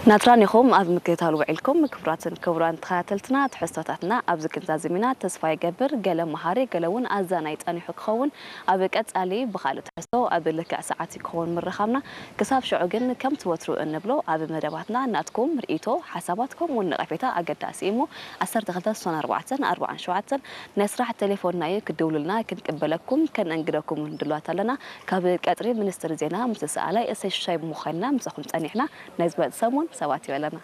ናትራን ኢኹም ኣብ ምክትታል ውዒልኩም። ክቡራትን ክቡራን ተኸታተልትና፣ ትሕዝቶታትና ኣብዚ ክንዛዝም ኢና። ተስፋ ይገብር፣ ገለ መሃሪ፣ ገለ እውን ኣዛናይ ጸኒሑ ክኸውን። ኣብ ቀጻሊ ብኻልእ ትሕዝቶ ኣብ ልክዕ ሰዓት ክኸውን ምርኻብና። ክሳብ ሽዑ ግን ከምቲ ወትሩ እንብሎ ኣብ መደባትና ናትኩም ርእይቶ፣ ሓሳባት ከምኡ እውን ነቐፌታ ኣገዳሲ እዩ እሞ ዓሰርተ ክልተ ስሳን ኣርባዕተን ኣርባዓን ሸውዓተን ናይ ስራሕ ቴሌፎንና እዩ። ክድውሉልና ክንቅበለኩም ከነንግደኩም እውን ድሉዋት ኣለና። ካብ ቀጽሪ ሚኒስትሪ ዜና ምስ ሰኣላይ እሰይ ሽሻይ ብምዃንና ምሳኹም ጸኒሕና። ናይ ዝመጽእ ሰሙን ሰባት ይበለና።